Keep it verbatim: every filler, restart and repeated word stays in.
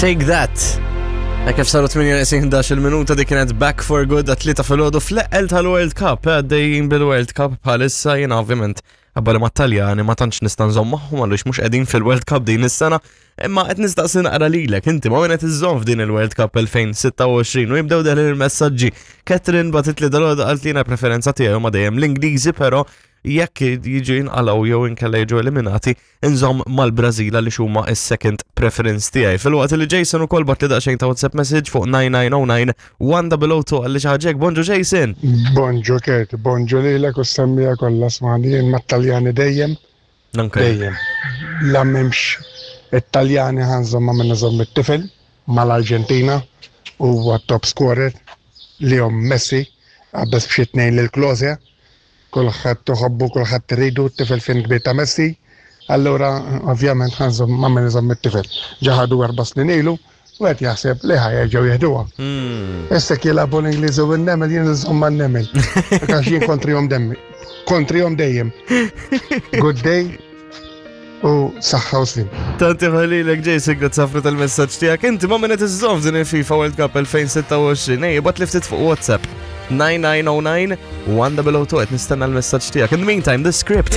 Take That. Hekk kif saru tmienja neqsin ħdax-il minuta, dik kienet Back for Good għat-tlieta filgħodu fl-eqqel tal-World Cup. Għaddejjin bil-World Cup bħalissa. Jiena ovvjament għabbali ma Taljani ma tantx nista' nżomm magħhom għaliex mhux qegħdin fil-World Cup din is-sena. Imma qed nistaqsi naqra lilek, inti ma' min qed iżżomm f'din il-World Cup elfejn u sitta u għoxrin? U jibdew deħlin il-messaġġi. Catherine bagħtitli dalgħodu, qalt li preferenza tiegħu ma dejjem l-Ingliżi, però jekk jiġu jinqalgħu jew inkella jiġu eliminati, inżomm mal-Brażil li huma is-second preference tiegħi. Filwaqt li Jason ukoll bagħatli daqsxejn ta' WhatsApp message fuq nine nine oh nine one oh oh two, qalli xi ħaġa. Bonġu, Jason. Bonġu Kurt, bonġu lilek u s-semmiegħa kollha. Smani, jien mat-Taljani dejjem, Anke. dejjem. La m'hemmx it-Taljani ħa nżomm ma' min iżomm it-tifel, mal-Arġentina, huwa top scorer li jom Messi, qabeż b'xi tnejn lil Klose, kulħadd iħobbu, kulħadd iridu, t-tifel fan kbir ta' Messi, allura ovvjament ħa nżomm ma' min iżomm it-tifel. Ġa ħadu erba' snin ilu, u qed jaħseb li ħa jerġgħu jeħduha. Hmm. Issa jilagħbu l-Ingliżi u n-nemel, jien nżomm ma' nemel. Għax jien kontrihom demmi. Kontrihom dejjem. Good day u saħħa u slim. Tanti ħalilek, Jason, grazzi ħafna tal-messaġġ tiegħek. Inti ma' min qed iżżomm f'din il-FIFA World Cup elfejn u sitta u għoxrin? Ej, ibgħatli ftit fuq WhatsApp. nine nine oh nine one oh oh two, qed nistenna l-messaġġ tiegħek. In the meantime, The Script.